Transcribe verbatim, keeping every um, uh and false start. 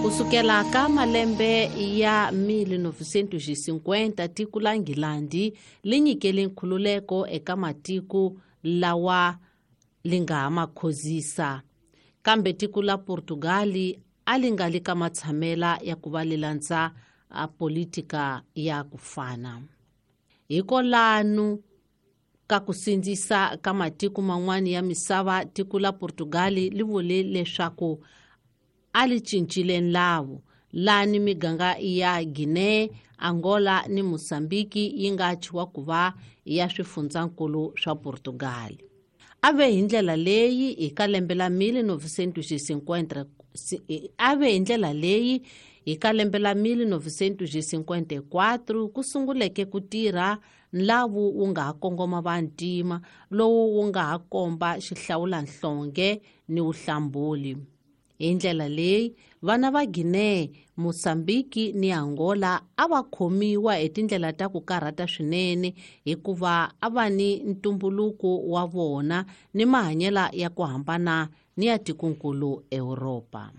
Kusukela ka malembe ya mil novecentos e cinquenta tiko la Nghilandi li nyikele nkhululeko eka matiko lawa li nga ha ma khozisa, kambe tiko la Portugal a li nga li ka matshamela ya ku va li landza a politika ya ku fana. Hikolanu ka ku sindzisa ka matiko man'wana ya misava, tiko la Portugal li vule leswaku a li cincile nlawu lani miganga ya Guinea, Angola ni Mozambique yi nga thyiwa ku va ya swifundzankulu swa Portugal. A ve hi ndlela leyi hi ka lembe la mil novecentos e cinquenta, a ve hi ndlela leyi hi ka lembe la mil novecentos e cinquenta e quatro ku sunguleke ku tirha nlawu wu nga ha kongoma vantima lowu wu nga ha komba xihlawulanhlonge ni vuhlambuli. Hi ndlela leyi vana va Guinea, Mozambique ni Angola a va khomiwa hi tindlela ta ku karhata swinene hikuva a va ni ntumbuluko wa vona ni mahanyelo ya ku hambana ni ya tikonkulu Europa.